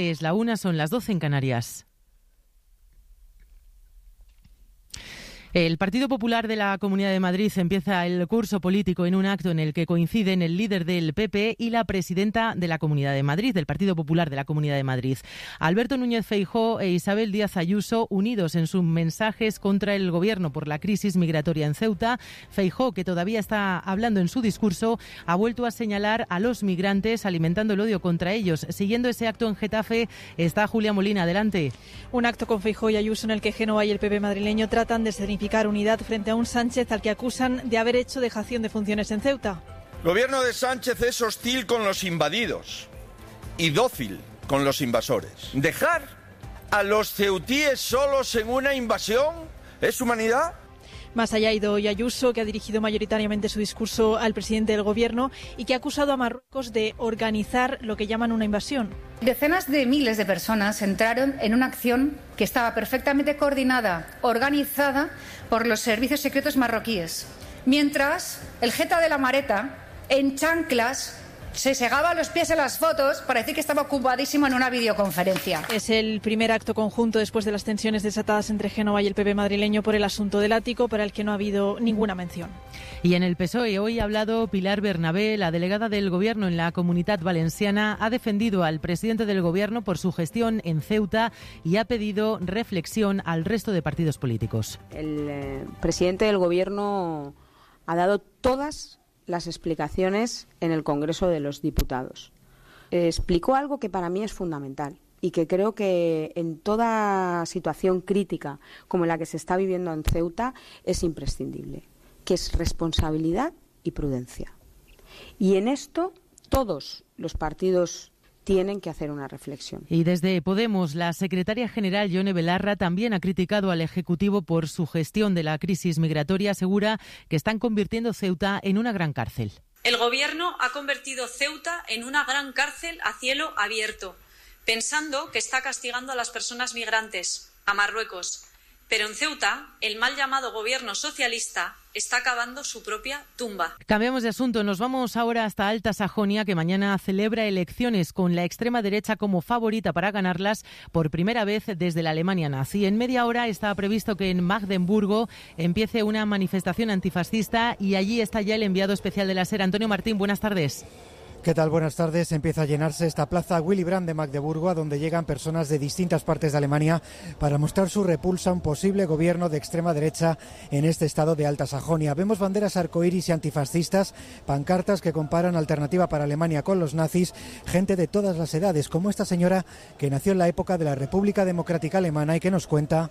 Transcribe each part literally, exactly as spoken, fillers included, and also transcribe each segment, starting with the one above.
Es la una, son las doce en Canarias. El Partido Popular de la Comunidad de Madrid empieza el curso político en un acto en el que coinciden el líder del P P y la presidenta de la Comunidad de Madrid, del Partido Popular de la Comunidad de Madrid. Alberto Núñez Feijóo e Isabel Díaz Ayuso, unidos en sus mensajes contra el Gobierno por la crisis migratoria en Ceuta. Feijóo, que todavía está hablando en su discurso, ha vuelto a señalar a los migrantes, alimentando el odio contra ellos. Siguiendo ese acto en Getafe está Julia Molina. Adelante. Un acto con Feijóo y Ayuso en el que Génova y el P P madrileño tratan de significar unidad frente a un Sánchez al que acusan de haber hecho dejación de funciones en Ceuta. El gobierno de Sánchez es hostil con los invadidos y dócil con los invasores. ¿Dejar a los ceutíes solos en una invasión es humanidad? Más allá ha ido hoy Ayuso, que ha dirigido mayoritariamente su discurso al presidente del Gobierno y que ha acusado a Marruecos de organizar lo que llaman una invasión. Decenas de miles de personas entraron en una acción que estaba perfectamente coordinada, organizada por los servicios secretos marroquíes, mientras el jeta de la Mareta, en chanclas, se segaba los pies en las fotos para decir que estaba ocupadísimo en una videoconferencia. Es el primer acto conjunto después de las tensiones desatadas entre Génova y el P P madrileño por el asunto del ático, para el que no ha habido ninguna mención. Y en el P S O E hoy ha hablado Pilar Bernabé, la delegada del Gobierno en la Comunitat Valenciana. Ha defendido al presidente del Gobierno por su gestión en Ceuta y ha pedido reflexión al resto de partidos políticos. El eh, presidente del Gobierno ha dado todas las explicaciones en el Congreso de los Diputados. Eh, explicó algo que para mí es fundamental y que creo que en toda situación crítica como la que se está viviendo en Ceuta es imprescindible, que es responsabilidad y prudencia. Y en esto todos los partidos tienen que hacer una reflexión. Y desde Podemos, la secretaria general Yone Belarra también ha criticado al Ejecutivo por su gestión de la crisis migratoria. Asegura que están convirtiendo Ceuta en una gran cárcel. El Gobierno ha convertido Ceuta en una gran cárcel a cielo abierto, pensando que está castigando a las personas migrantes, a Marruecos. Pero en Ceuta, el mal llamado Gobierno socialista está acabando su propia tumba. Cambiamos de asunto. Nos vamos ahora hasta Alta Sajonia, que mañana celebra elecciones con la extrema derecha como favorita para ganarlas por primera vez desde la Alemania nazi. En media hora está previsto que en Magdeburgo empiece una manifestación antifascista y allí está ya el enviado especial de la SER, Antonio Martín. Buenas tardes. ¿Qué tal? Buenas tardes. Empieza a llenarse esta plaza Willy Brandt de Magdeburgo, a donde llegan personas de distintas partes de Alemania para mostrar su repulsa a un posible gobierno de extrema derecha en este estado de Alta Sajonia. Vemos banderas arcoíris y antifascistas, pancartas que comparan Alternativa para Alemania con los nazis, gente de todas las edades, como esta señora que nació en la época de la República Democrática Alemana y que nos cuenta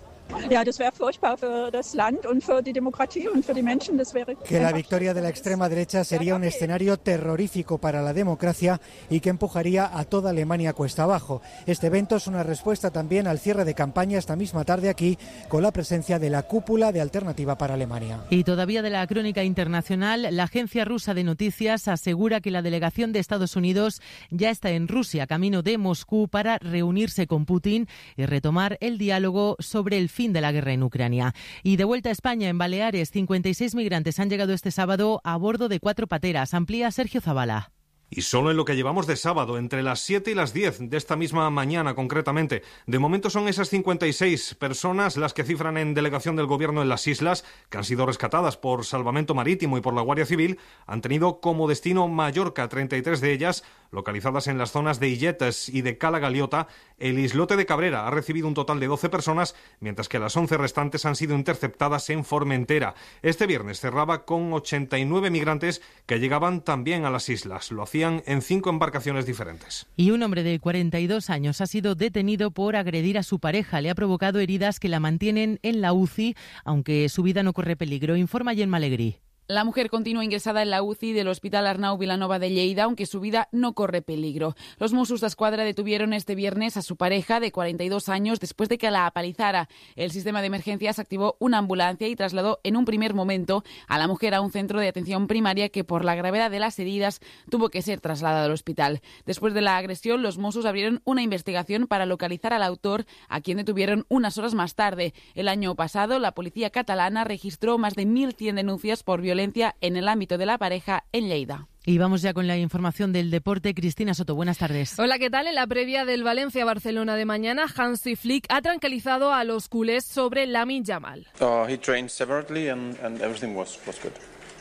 que la victoria de la extrema derecha sería un escenario terrorífico para la democracia y que empujaría a toda Alemania cuesta abajo. Este evento es una respuesta también al cierre de campaña esta misma tarde aquí, con la presencia de la cúpula de Alternativa para Alemania. Y todavía de la crónica internacional, la agencia rusa de noticias asegura que la delegación de Estados Unidos ya está en Rusia, camino de Moscú, para reunirse con Putin y retomar el diálogo sobre el fin de la guerra en Ucrania. Y de vuelta a España, en Baleares, cincuenta y seis migrantes han llegado este sábado a bordo de cuatro pateras. Amplía Sergio Zabala. Y solo en lo que llevamos de sábado, entre las siete y las diez de esta misma mañana concretamente. De momento son esas cincuenta y seis personas las que cifran en delegación del Gobierno en las islas, que han sido rescatadas por Salvamento Marítimo y por la Guardia Civil. Han tenido como destino Mallorca, treinta y tres de ellas localizadas en las zonas de Illetes y de Cala Galiota. El islote de Cabrera ha recibido un total de doce personas, mientras que las once restantes han sido interceptadas en Formentera. Este viernes cerraba con ochenta y nueve migrantes que llegaban también a las islas. Lo hacían en cinco embarcaciones diferentes. Y un hombre de cuarenta y dos años ha sido detenido por agredir a su pareja. Le ha provocado heridas que la mantienen en la U C I, aunque su vida no corre peligro. Informa Gemma Alegrí. La mujer continúa ingresada en la U C I del Hospital Arnau Vilanova de Lleida, aunque su vida no corre peligro. Los Mossos d'Esquadra detuvieron este viernes a su pareja de cuarenta y dos años después de que la apalizara. El sistema de emergencias activó una ambulancia y trasladó en un primer momento a la mujer a un centro de atención primaria que, por la gravedad de las heridas, tuvo que ser trasladada al hospital. Después de la agresión, los Mossos abrieron una investigación para localizar al autor, a quien detuvieron unas horas más tarde. El año pasado, la policía catalana registró más de mil cien denuncias por violencia violencia en el ámbito de la pareja en Lleida. Y vamos ya con la información del deporte. Cristina Soto, buenas tardes. Hola, ¿qué tal? En la previa del Valencia-Barcelona de mañana, Hansi Flick ha tranquilizado a los culés sobre Lamine Yamal. Uh, he trained separately and, and everything was, was good.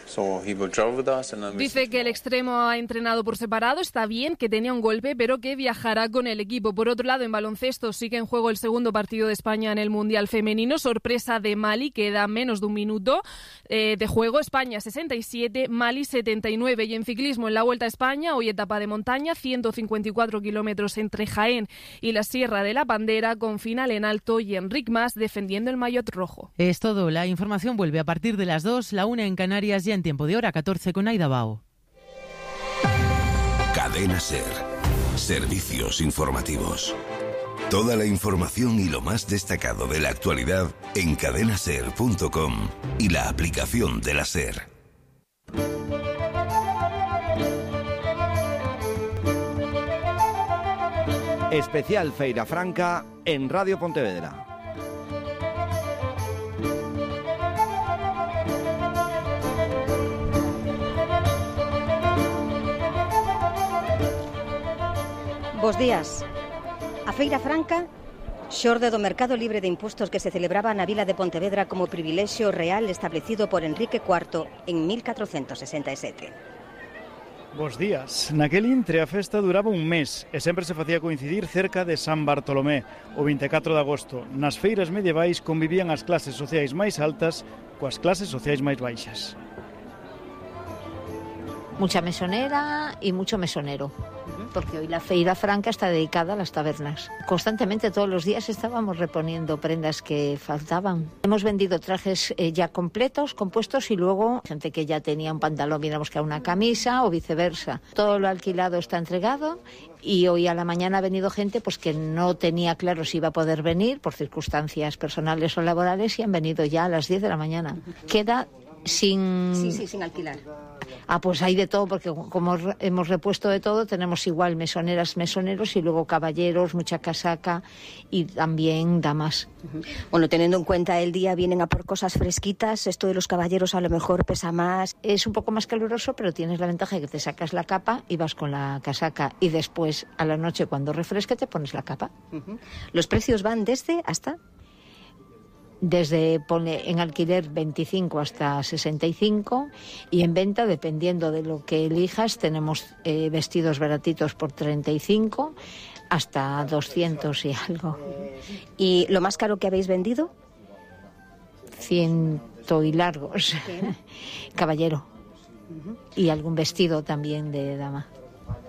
So he will travel with us and then Dice que el extremo ha entrenado por separado, está bien, que tenía un golpe, pero que viajará con el equipo. Por otro lado, en baloncesto sigue en juego el segundo partido de España en el Mundial Femenino. Sorpresa de Mali, queda menos de un minuto eh, de juego. España sesenta y siete, Mali setenta y nueve. Y en ciclismo, en la Vuelta a España, hoy etapa de montaña, ciento cincuenta y cuatro kilómetros entre Jaén y la Sierra de la Bandera, con final en alto y Enric Mas defendiendo el maillot rojo. Es todo. La información vuelve a partir de las dos, la una en Canarias, ya en tiempo de hora catorce con Aida Bao. Cadena SER. Servicios informativos. Toda la información y lo más destacado de la actualidad en cadena ser punto com y la aplicación de la SER. Especial Feira Franca en Radio Pontevedra. Bos días. A Feira Franca xorde do mercado libre de impostos que se celebraba na vila de Pontevedra como privilexio real establecido por Enrique cuarto en mil catrocentos sesenta e sete. Bos días. Naquel intre a festa duraba un mes e sempre se facía coincidir cerca de San Bartolomé, o vinte e catro de agosto. Nas feiras medievais convivían as clases sociais máis altas coas clases sociais máis baixas. Mucha mesonera y mucho mesonero, porque hoy la Feira Franca está dedicada a las tabernas. Constantemente, todos los días, estábamos reponiendo prendas que faltaban. Hemos vendido trajes eh, ya completos, compuestos, y luego gente que ya tenía un pantalón viene a buscar una camisa o viceversa. Todo lo alquilado está entregado y hoy a la mañana ha venido gente pues que no tenía claro si iba a poder venir por circunstancias personales o laborales y han venido ya a las diez de la mañana. Queda sin... Sí, sí, sin alquilar. Ah, pues hay de todo, porque como hemos repuesto de todo, tenemos igual mesoneras, mesoneros y luego caballeros, mucha casaca y también damas. Bueno, teniendo en cuenta el día, vienen a por cosas fresquitas, esto de los caballeros a lo mejor pesa más. Es un poco más caluroso, pero tienes la ventaja de que te sacas la capa y vas con la casaca y después a la noche cuando refresque te pones la capa. Uh-huh. ¿Los precios van desde hasta...? Desde pone en alquiler veinticinco hasta sesenta y cinco y en venta, dependiendo de lo que elijas, tenemos eh, vestidos baratitos por treinta y cinco hasta doscientos y algo. ¿Y lo más caro que habéis vendido? Ciento y largos. Caballero. Uh-huh. Y algún vestido también de dama.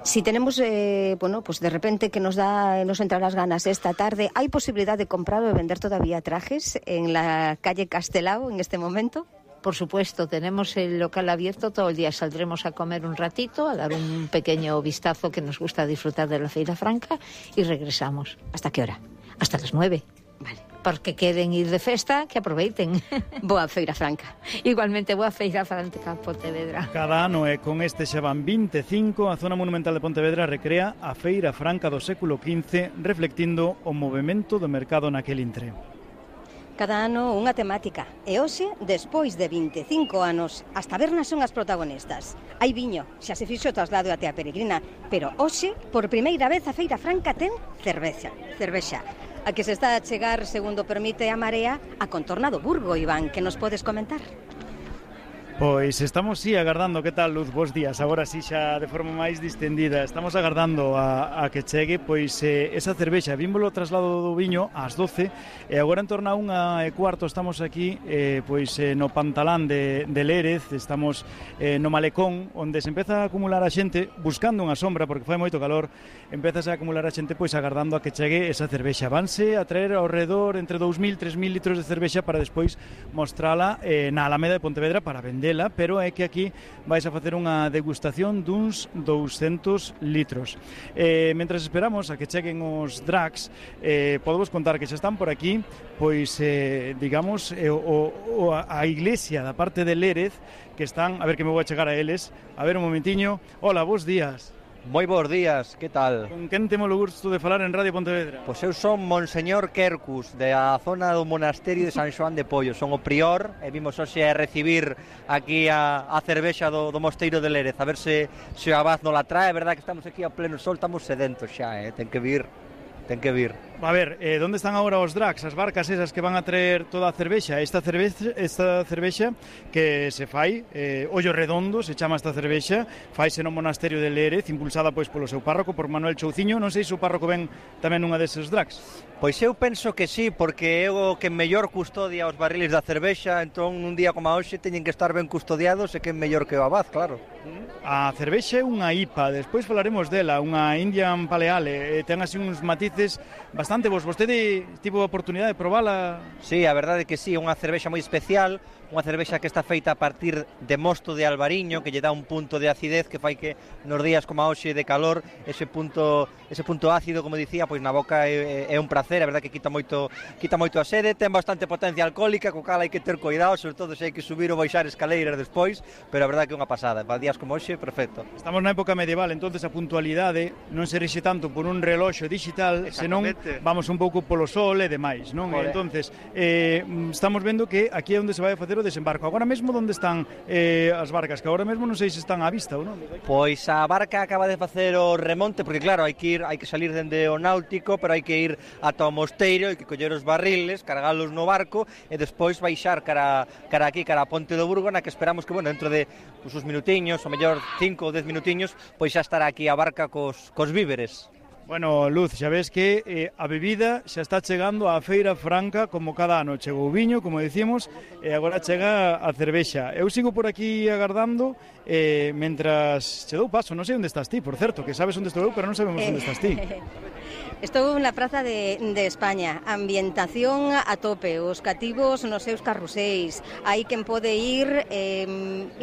Si tenemos, eh, bueno, pues de repente que nos da, nos entran las ganas esta tarde, ¿hay posibilidad de comprar o de vender todavía trajes en la calle Castelao en este momento? Por supuesto, tenemos el local abierto todo el día. Saldremos a comer un ratito, a dar un pequeño vistazo, que nos gusta disfrutar de la Feira Franca, y regresamos. ¿Hasta qué hora? Hasta las nueve. Vale. Porque quieren ir de festa, que aproveiten. Boa Feira Franca. Igualmente, boa Feira Franca, Pontevedra. Cada ano, e con este xa van vinte e cinco, a zona monumental de Pontevedra recrea a Feira Franca do século quince, reflectindo o movimento do mercado naquel intre. Cada ano unha temática. E hoxe, despois de vinte e cinco anos, as tabernas son as protagonistas. Hai viño, xa se fixo o traslado até a Peregrina, pero hoxe, por primeira vez, a Feira Franca ten cervexa. Cervexa. A que se está a chegar, segundo permite a Marea, a contorna do Burgo, Iván, que nos podes comentar? Pois estamos sí agardando, que tal, Luz? Bos días, agora sí xa de forma máis distendida. Estamos agardando a, a que chegue pois eh, esa cervexa. Vímbolo traslado do viño ás doce e agora en torno a unha e cuarto estamos aquí eh, pois eh, no Pantalán de, de Lérez. Estamos eh, no Malecón, onde se empeza a acumular a xente buscando unha sombra porque fai moito calor. Empezase a acumular a xente pois agardando a que chegue esa cervexa. Vanse a traer ao redor entre dous mil e tres mil litros de cervexa para despois mostrala eh, na Alameda de Pontevedra para vender. Pero é que aquí vais a facer unha degustación duns douscentos litros. Eh, mentras esperamos a que cheguen os drags, eh, podemos contar que xa están por aquí, pois, eh, digamos, eh, o, o, a iglesia da parte de Lérez, que están, a ver que me vou a chegar a eles, a ver un momentiño. Hola, bons días. Moi bons días, que tal? Con quen temos o gusto de falar en Radio Pontevedra? Pois eu son Monseñor Quercus, da zona do monasterio de San Xoán de Pollo. Son o prior e vimos hoxe a recibir aquí a, a cervexa do, do mosteiro de Lérez. A ver se, se o abad non la trae. É verdad que estamos aquí a pleno sol, estamos sedentos xa, eh? Ten que vir, ten que vir. A ver, eh, onde están agora os drags, as barcas esas que van a traer toda a cervexa? Esta cervexa, esta cervexa que se fai, eh, Ollo Redondo, se chama esta cervexa, faise no monasterio de Lérez, impulsada pois polo seu párroco, por Manuel Chouciño. Non sei se o párroco ven tamén unha deses drags. Pois eu penso que sí, porque é o que mellor custodia os barriles da cervexa, entón un día como a hoxe teñen que estar ben custodiados e que é mellor que o abad, claro. A cervexa é unha I P A, despois falaremos dela, unha Indian Pale Ale, ten así uns matices bastante bons. Vostede tivo a oportunidade de probala? Sí, a verdade é que sí, é unha cervexa moi especial, unha cervexa que está feita a partir de mosto de albariño, que lle dá un punto de acidez que fai que nos días como a hoxe de calor, ese punto ese punto ácido, como dicía, pois na boca é, é un prazer, a verdade que quita moito quita moito a sede, ten bastante potencia alcohólica, co cal hai que ter cuidado, sobre todo se hai que subir ou baixar escaleiras despois, pero a verdade que é unha pasada, para días como hoxe, perfecto. Estamos na época medieval, entonces a puntualidade non se rixe tanto por un reloxo digital, senón vamos un pouco polo sol e demais, non? Joder. Entonces, eh, estamos vendo que aquí é onde se vai a facer o desembarco. Agora mesmo onde están eh, as barcas, que agora mesmo non sei se están á vista ou non? Pois a barca acaba de facer o remonte, porque claro, hai que ir, hai que salir dende o náutico, pero hai que ir ata o mosteiro, hai que coller os barriles, cargalos no barco e despois baixar cara, cara aquí, cara a Ponte do Burgo, na que esperamos que, bueno, dentro de pues, uns minutiños, ou mellor cinco ou dez minutiños, pois xa estará aquí a barca cos, cos víveres. Bueno, Luz, xa ves que eh, a bebida xa está chegando á Feira Franca como cada ano. Chegou o viño, como decimos, e agora chega a cervexa. Eu sigo por aquí agardando eh, mentras che dou paso. Non sei onde estás ti, por certo, que sabes onde estou eu, pero non sabemos onde estás ti. Estou na Praza de, de España, ambientación a tope, os cativos nos seus carruseis, hai quen pode ir, eh,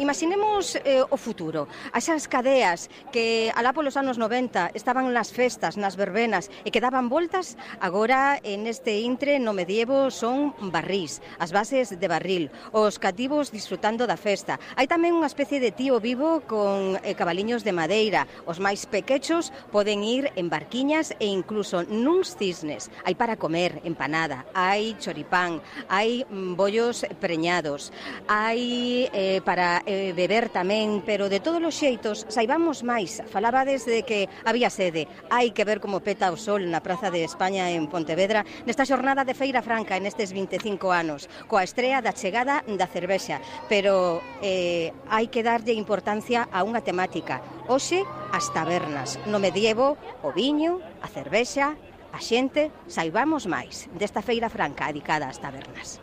imaginemos eh, o futuro, asas cadeas que alá polos anos noventa estaban nas festas, nas verbenas e que daban voltas, agora en este intre no medievo son barrís, as bases de barril, os cativos disfrutando da festa. Hai tamén unha especie de tío vivo con eh, cabaliños de madeira, os máis pequechos poden ir en barquiñas e incluso nuns cisnes. Hai para comer empanada, hai choripán, hai mm, bollos preñados, hai eh, para eh, beber tamén, pero de todos os xeitos, saibamos máis. Falabades de que había sede, hai que ver como peta o sol na Praza de España en Pontevedra nesta xornada de Feira Franca en estes vinte e cinco anos, coa estrea da chegada da cervexa, pero eh, hai que darlle importancia a unha temática. Hoxe, as tabernas, no medievo, o viño, a cervexa, a xente, saibamos máis desta Feira Franca dedicada ás tabernas.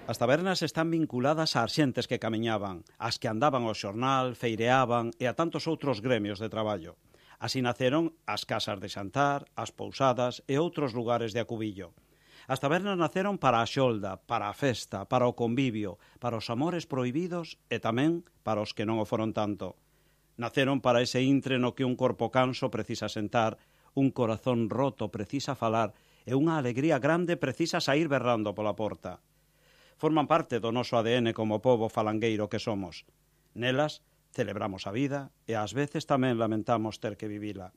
As tabernas están vinculadas ás xentes que camiñaban, as que andaban ao xornal, feireaban e a tantos outros gremios de traballo. Así naceron as casas de xantar, as pousadas e outros lugares de acubillo. As tabernas naceron para a xolda, para a festa, para o convivio, para os amores prohibidos e tamén para os que non o foron tanto. Naceron para ese intre no que un corpo canso precisa sentar, un corazón roto precisa falar e unha alegría grande precisa saír berrando pola porta. Forman parte do noso A D N como pobo falangueiro que somos. Nelas celebramos a vida e ás veces tamén lamentamos ter que vivila.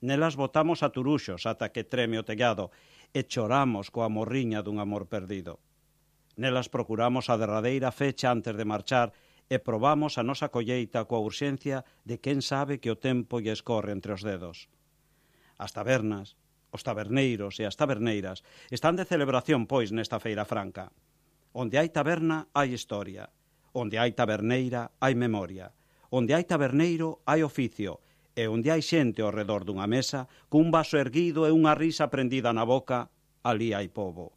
Nelas botamos a turuxos ata que treme o tellado e choramos coa morriña dun amor perdido. Nelas procuramos a derradeira fecha antes de marchar e probamos a nosa colleita coa urxencia de quen sabe que o tempo lle escorre entre os dedos. As tabernas, os taberneiros e as taberneiras están de celebración, pois, nesta Feira Franca. Onde hai taberna, hai historia. Onde hai taberneira, hai memoria. Onde hai taberneiro, hai oficio. E onde hai xente ao redor dunha mesa, cun vaso erguido e unha risa prendida na boca, ali hai pobo.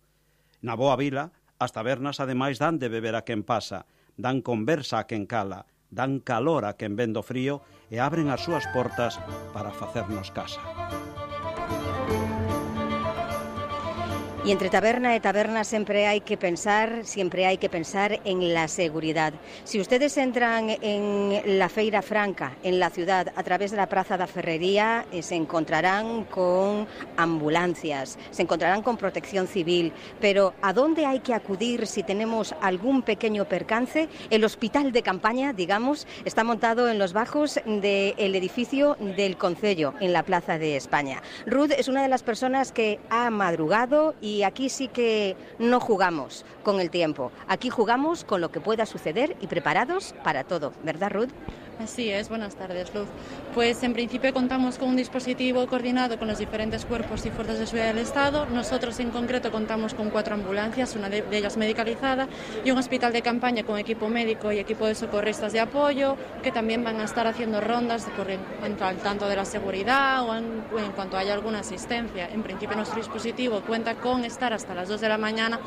Na boa vila, as tabernas ademais dan de beber a quen pasa, dan conversa a quen cala, dan calor a quen vendo frío e abren as súas portas para facernos casa. Y entre taberna y taberna siempre hay que pensar, siempre hay que pensar en la seguridad. Si ustedes entran en la Feira Franca, en la ciudad, a través de la Plaza da Ferrería, eh, se encontrarán con ambulancias, se encontrarán con protección civil. Pero ¿a dónde hay que acudir si tenemos algún pequeño percance? El hospital de campaña, digamos, está montado en los bajos del edificio del Concello, en la Plaza de España. Ruth es una de las personas que ha madrugado y Y aquí sí que no jugamos con el tiempo. Aquí jugamos con lo que pueda suceder y preparados para todo. ¿Verdad, Ruth? Así es, buenas tardes, Luz. Pues en principio contamos con un dispositivo coordinado con los diferentes cuerpos y fuerzas de seguridad del Estado. Nosotros en concreto contamos con cuatro ambulancias, una de ellas medicalizada, y un hospital de campaña con equipo médico y equipo de socorristas de apoyo, que también van a estar haciendo rondas por en cuanto al tanto de la seguridad o en, en cuanto haya alguna asistencia. En principio nuestro dispositivo cuenta con estar hasta las dos de la mañana,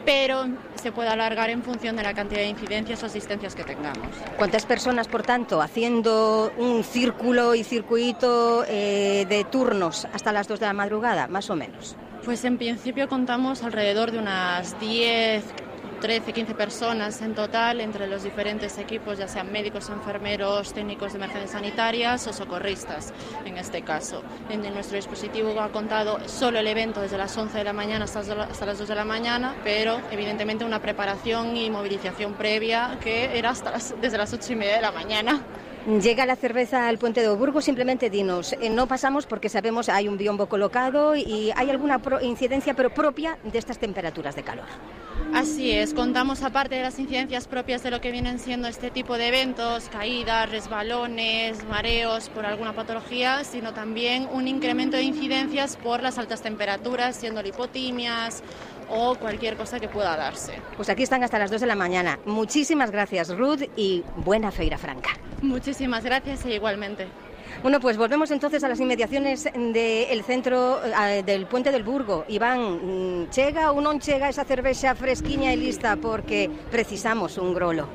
pero se puede alargar en función de la cantidad de incidencias o asistencias que tengamos. ¿Cuántas personas, por tanto, haciendo un círculo y circuito eh, de turnos hasta las dos de la madrugada, más o menos? Pues en principio contamos alrededor de unas diez, trece, quince personas en total entre los diferentes equipos, ya sean médicos, enfermeros, técnicos de emergencias sanitarias o socorristas, en este caso. En nuestro dispositivo ha contado solo el evento desde las once de la mañana hasta, hasta las dos de la mañana, pero evidentemente una preparación y movilización previa que era hasta las, desde las ocho y media de la mañana. Llega la cerveza al Puente de Burgo, simplemente dinos, eh, no pasamos porque sabemos hay un biombo colocado y hay alguna pro incidencia pero propia de estas temperaturas de calor. Así es, contamos aparte de las incidencias propias de lo que vienen siendo este tipo de eventos, caídas, resbalones, mareos por alguna patología, sino también un incremento de incidencias por las altas temperaturas, siendo lipotimias o cualquier cosa que pueda darse. Pues aquí están hasta las dos de la mañana. Muchísimas gracias, Ruth, y buena Feira Franca. Muchísimas gracias e igualmente. Bueno, pues volvemos entonces a las inmediaciones del centro eh, del Puente del Burgo. Iván, chega ou non chega esa cervexa fresquiña e lista porque precisamos un grolo?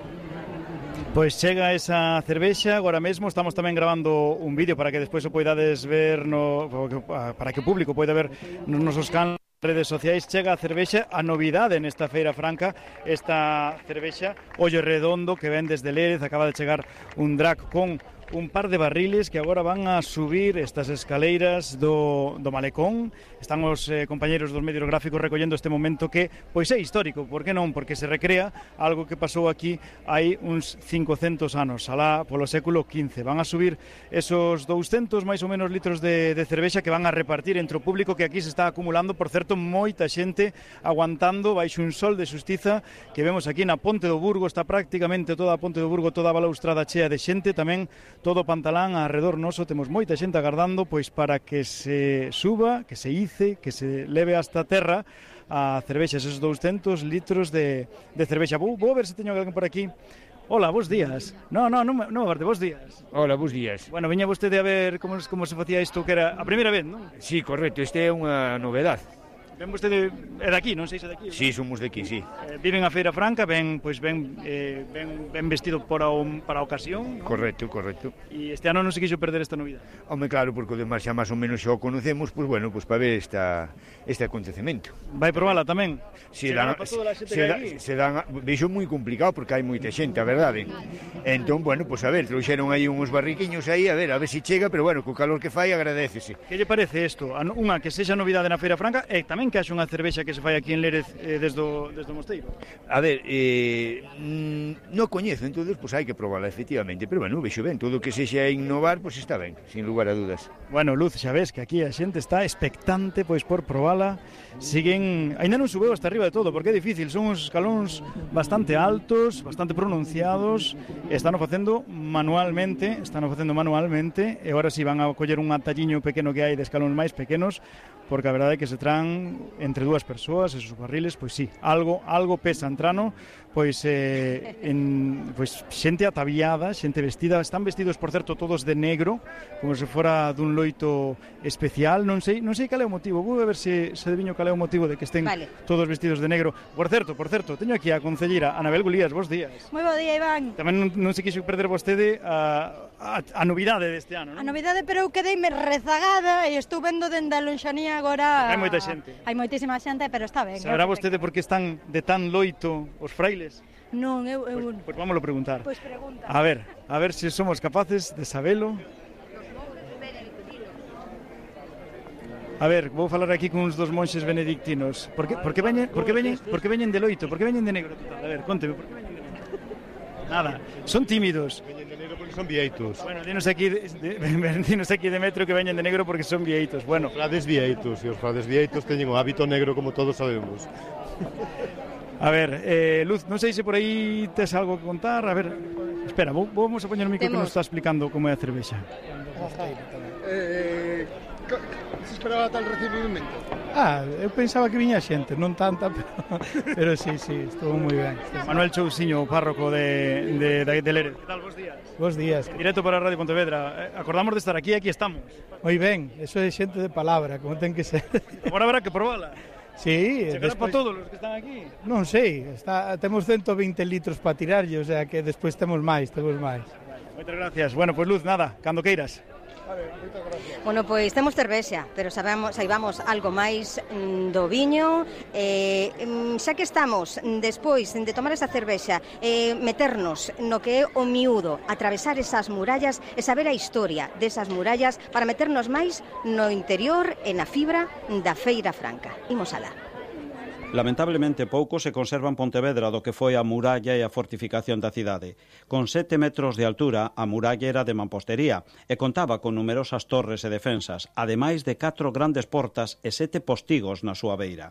Pois chega esa cervexa, agora mesmo estamos tamén grabando un vídeo para que despois o poidades ver no, para que o público poida ver nos nosos canales redes sociais. Chega a cervexa, a novidade nesta Feira Franca, esta cervexa Ollo Redondo que ven desde Lérez, acaba de chegar un drag con un par de barriles que agora van a subir estas escaleiras do, do Malecón. Están os eh, compañeros dos medios gráficos recollendo este momento que pois é histórico, por que non? Porque se recrea algo que pasou aquí hai uns cincocentos anos, alá polo século quince. Van a subir esos douscentos máis ou menos litros de, de cervexa que van a repartir entre o público que aquí se está acumulando, por certo, moita xente aguantando baixo un sol de xustiza que vemos aquí na Ponte do Burgo. Está prácticamente toda a Ponte do Burgo, toda a balaustrada chea de xente, tamén todo o Pantalán arredor noso, temos moita xente agardando pois para que se suba, que se ice, que se leve hasta a terra a cervexa, esos douscentos litros de, de cervexa. Vou, vou ver se teño alguén por aquí. Hola, bos días. No, no, non me no, bos días. Hola, bos días. Bueno, viña vostede a ver como, como se facía isto, que era a primeira vez, non? Sí, correcto, este é unha novedade. Ven vostede, é daqui, non sei se é daqui? Sí, somos daqui, sí. Eh, viven a Feira Franca, ven, pois, ven, eh, ven, ven vestido para, un, para a ocasión, ¿no? Correcto, correcto. E este ano non se quixo perder esta novidade. Home, claro, porque o demais xa máis ou menos xa o conocemos, pois bueno, pois para ver esta, este acontecemento. Vai probala tamén? Se, dan, se, se, da, se dan, vexo moi complicado porque hai moita xente, a verdade. Entón, bueno, pois a ver, trouxeron aí uns barriquiños aí, a ver, a ver se si chega, pero bueno, co calor que fai agradécese. Que lle parece isto? Unha que sexa novidade na Feira Franca e tamén que haxe unha cervexa que se fai aquí en Lérez eh, desde, o, desde o Mosteiro. A ver, eh, mm, non coñezo, entonces, pois hai que probarla, efectivamente, pero bueno, vexo ben, todo o que sexa innovar, pois está ben, sin lugar a dudas. Bueno, Luz, xa ves que aquí a xente está expectante pois por probala. Siguen, aínda non subeu hasta arriba de todo, porque é difícil, son uns escalóns bastante altos, bastante pronunciados, están o facendo manualmente, están o facendo manualmente, e agora si van a coller un atalliño pequeno que hai de escalóns máis pequenos, porque a verdade é que se tran entre dúas persoas, esos barriles, pois sí, algo algo pesa entrano, pois eh, en pois xente ataviada, xente vestida, están vestidos por certo todos de negro, como se fora dun loito especial, non sei, non sei cal é o motivo, vou a ver se se adiviño cal é o motivo de que estén vale. Todos vestidos de negro. Por certo, por certo, teño aquí a concelleira Anabel Gulías, bos días. Moi bo día, Iván. Tamén non, non se quixo perder vostede a a, a novidade deste ano, non? A novidade, pero eu quedeime rezagada e estou vendo dende a lonxanía agora... Hai moita xente. Hai moitísima xente, pero está ben. Saberá vostede por que están de tan loito os frailes? Non, eu... eu... Pois, pois vámoslo preguntar. Pois pregunta. A ver, a ver se somos capaces de sabelo. A ver, vou falar aquí con uns dos monxes benedictinos. Por que, por que veñen, por que veñen, por que veñen de loito? Por que veñen de negro total? A ver, conteme, por que veñen de negro? Nada, son tímidos. Veñen de negro porque son vieitos. Bueno, dinos aquí, de, de, dinos aquí Demetrio que veñen de negro porque son vieitos. Bueno, os frades vieitos, e os frades vieitos teñen o hábito negro como todos sabemos. A ver, eh, Luz, non sei se por aí tes algo que contar. A ver, espera, vou, vamos a poñer o micro que nos está explicando como é a cervexa. Eh, se esperaba tal recibimento? Ah, eu pensaba que viña xente, non tanta, pero, pero sí, sí, estuvo moi ben. Manuel Chousiño, párroco de, de, de, de Lérez. Que tal, bos días? Bos días. Directo para Radio Pontevedra. Acordamos de estar aquí, aquí estamos. Moi ben, eso é xente de palabra, como ten que ser. Agora habrá que probala. Sí, chegará despois... para todos os que están aquí? Non sei, está, temos ciento veinte litros para tirarlle, o sea que despois temos máis, temos máis. Moitas gracias. Bueno, pois pues, Luz, nada, cando queiras. Bueno, pois temos cervexa, pero sabemos, saibamos algo máis mm, do viño. eh, xa que estamos despois de tomar esa cervexa, eh, meternos no que é o miúdo, atravesar esas murallas e saber a historia desas murallas para meternos máis no interior e na fibra da Feira Franca. Imos alá. Lamentablemente pouco se conserva en Pontevedra do que foi a muralla e a fortificación da cidade. Con sete metros de altura, a muralla era de mampostería e contaba con numerosas torres e defensas, ademais de catro grandes portas e sete postigos na súa beira.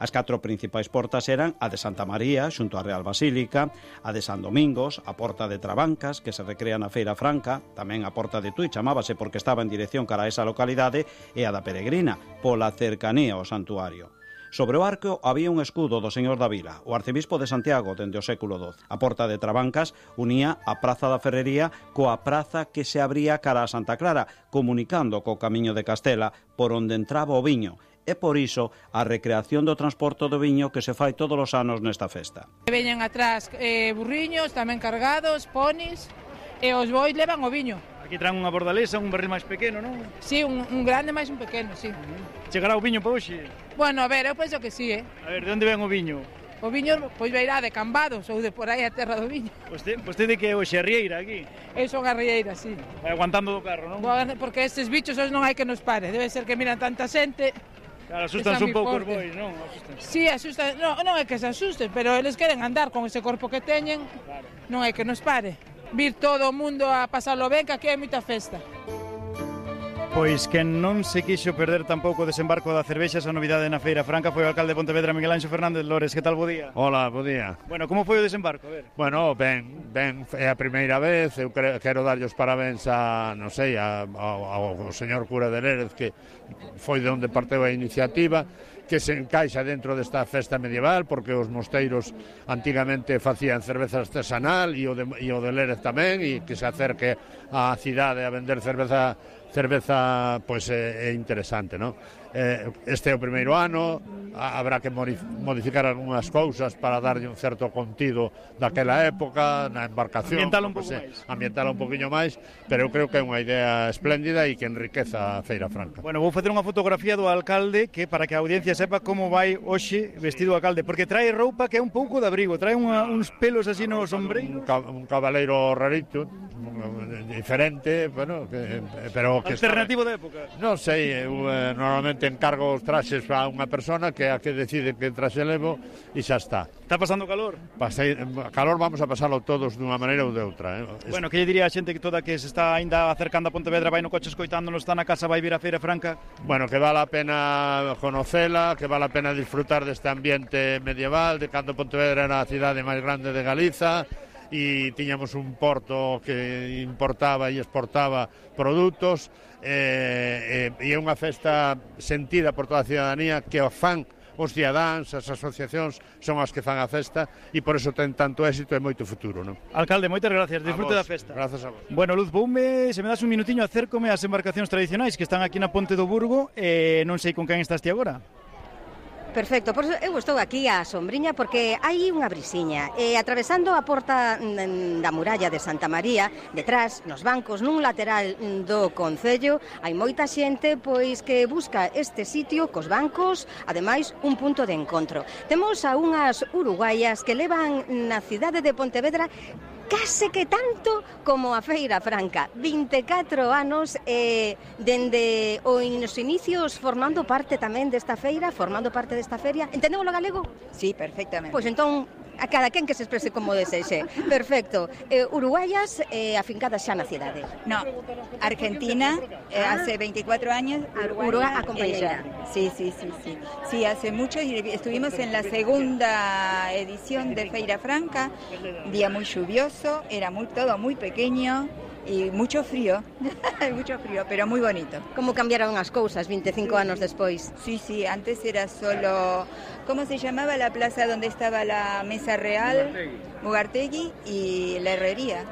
As catro principais portas eran a de Santa María, xunto á Real Basílica, a de San Domingos, a porta de Trabancas, que se recrea na Feira Franca, tamén a porta de Tui, chamábase porque estaba en dirección cara a esa localidade, e a da Peregrina, pola cercanía ao santuario. Sobre o arco había un escudo do señor da Vila, o arcebispo de Santiago dende o século doce. A porta de Trabancas unía a Praza da Ferrería coa praza que se abría cara a Santa Clara, comunicando co Camiño de Castela por onde entraba o viño. E por iso a recreación do transporte do viño que se fai todos os anos nesta festa. Veñen atrás eh, burriños tamén cargados, ponis, e os bois levan o viño. Aquí traen unha bordalesa, un barril máis pequeno, non? Sí, un, un grande máis un pequeno, sí. Chegará o viño para hoxe? Bueno, a ver, eu penso que sí, eh? A ver, de onde ven o viño? O viño, pois veirá de Cambados ou de por aí a terra do viño. Vostede, vostede que é hoxe a Rieira aquí? Eu son a Rieira, sí. Vai aguantando do carro, non? Porque estes bichos non hai que nos pare, debe ser que miran tanta xente. Claro, asustan un pouco os bois, non? Asustan. Sí, asustan, non, non é que se asusten, pero eles queren andar con ese corpo que teñen, claro. Non hai que nos pare. Vir todo o mundo a pasarlo ben, que aquí hai moita festa. Pois que non se quixo perder tampouco o desembarco da cervexa, esa novidade na Feira Franca, foi o alcalde de Pontevedra, Miguel Anxo Fernández Lores. Que tal, bo día? Hola, bo día. Bueno, como foi o desembarco? A ver. Bueno, ben, ben, é a primeira vez, eu quero darlle os parabéns a, non sei, a, ao, ao señor cura de Lérez, que foi de onde parteu a iniciativa, que se encaixa dentro desta festa medieval, porque os mosteiros antigamente facían cerveza artesanal e o de, e o de Lérez tamén, e que se acerque á cidade a vender cerveza cerveza pois é, é interesante, non? Eh, este é o primeiro ano, habrá que modificar algunhas cousas para darlle un certo contido daquela época, na embarcación, ambientala un pouco máis. Ambientala un poquinho máis, pero eu creo que é unha idea espléndida e que enriqueza a Feira Franca. Bueno, vou facer unha fotografía do alcalde que para que a audiencia sepa como vai hoxe vestido o alcalde, porque trae roupa que é un pouco de abrigo, trae unha, uns pelos así no sombreiro. Un, ca, un cabaleiro rarito, diferente, bueno, que, pero que alternativo está... de época. Non sei, eu eh, normalmente encargo os traxes a unha persona que é a que decide que traxe levo e xa está. Está pasando calor? Pasei, calor vamos a pasalo todos dunha maneira ou de outra. Eh? Bueno, que lle diría a xente que toda que se está aínda acercando a Pontevedra, vai no coche escoitándonos, está na casa, vai vir a Feira Franca? Bueno, que vale a pena conocela, que vale a pena disfrutar deste ambiente medieval, de cando Pontevedra era a cidade máis grande de Galiza, e tiñamos un porto que importaba e exportaba produtos, e, e, e é unha festa sentida por toda a cidadanía, que o fan os cidadáns, as asociacións son as que fan a festa, e por eso ten tanto éxito e moito futuro, non? Alcalde, moitas gracias, disfrute da festa. Grazas a vos. Bueno, Luz, voume, se me das un minutiño, acércome ás embarcacións tradicionais que están aquí na Ponte do Burgo, e non sei con quen estás ti agora. Perfecto, por eso eu estou aquí á sombriña porque hai unha brisiña. E atravesando a porta da muralla de Santa María, detrás, nos bancos, nun lateral do concello, hai moita xente pois que busca este sitio cos bancos, ademais un punto de encontro. Temos a unhas uruguaias que levan na cidade de Pontevedra case que tanto como a Feira Franca, vinte e catro anos e dende os inicios formando parte tamén desta feira, formando parte desta feria. Entendemos o galego? Sí, perfectamente. Pois entón, a cada quen que se exprese como desexe. Perfecto. Eh, uruguayas eh, afincadas xa na cidade. No, Argentina, eh, Ah. hace veinticuatro años, Uruguay, Uruguay acompañera. ella. Sí, sí, sí, sí. Sí, hace mucho y estuvimos en la segunda edición de Feira Franca, día muy lluvioso, era muy todo muy pequeño y mucho frío, mucho frío, pero muy bonito. Como cambiaron as cousas vinte e cinco anos despois? Sí, sí, antes era solo, ¿cómo se llamaba la plaza donde estaba la mesa real? Mugartegui y la herrería.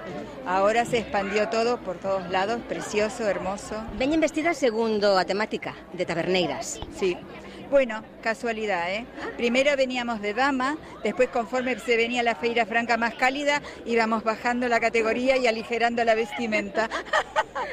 Ahora se expandió todo por todos lados, precioso, hermoso. Veñen vestidas segundo a temática de taberneiras. Sí. Bueno, casualidad, ¿eh? Primero veníamos de dama, después conforme se venía la Feira Franca más cálida, íbamos bajando la categoría y aligerando la vestimenta.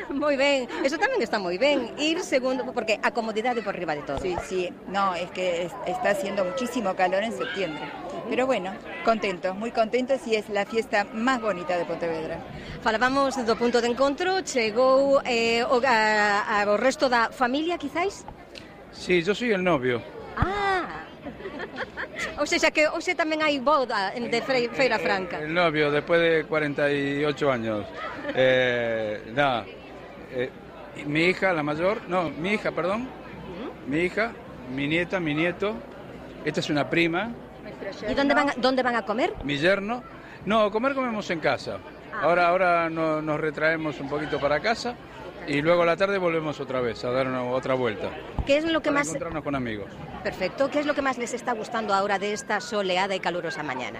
Moi ben, eso tamén está moi ben, ir segundo, porque a comodidade por riba de todo. Sí, sí, no, es que es, está haciendo muchísimo calor en septiembre. Pero bueno, contentos, muy contentos y es la fiesta más bonita de Pontevedra. Falábamos do punto de encontro, chegou eh, o, a, a, o resto da familia, quizáis? Sí, yo soy el novio. Ah, ou seja que hoxe tamén hai boda de Feira Franca. El novio, después de cuarenta y ocho años. Eh, nada, eh, mi hija, la mayor, no, mi hija, perdón, mi hija, mi nieta, mi nieto, esta es una prima. ¿Y dónde van, a, dónde van a comer? Mi yerno. No, comer comemos en casa. Ahora, ahora no, nos retraemos un poquito para casa. Y luego a la tarde volvemos otra vez a dar una, otra vuelta. ¿Qué es lo que para más... encontrarnos con amigos. Perfecto. ¿Qué es lo que más les está gustando ahora de esta soleada y calurosa mañana?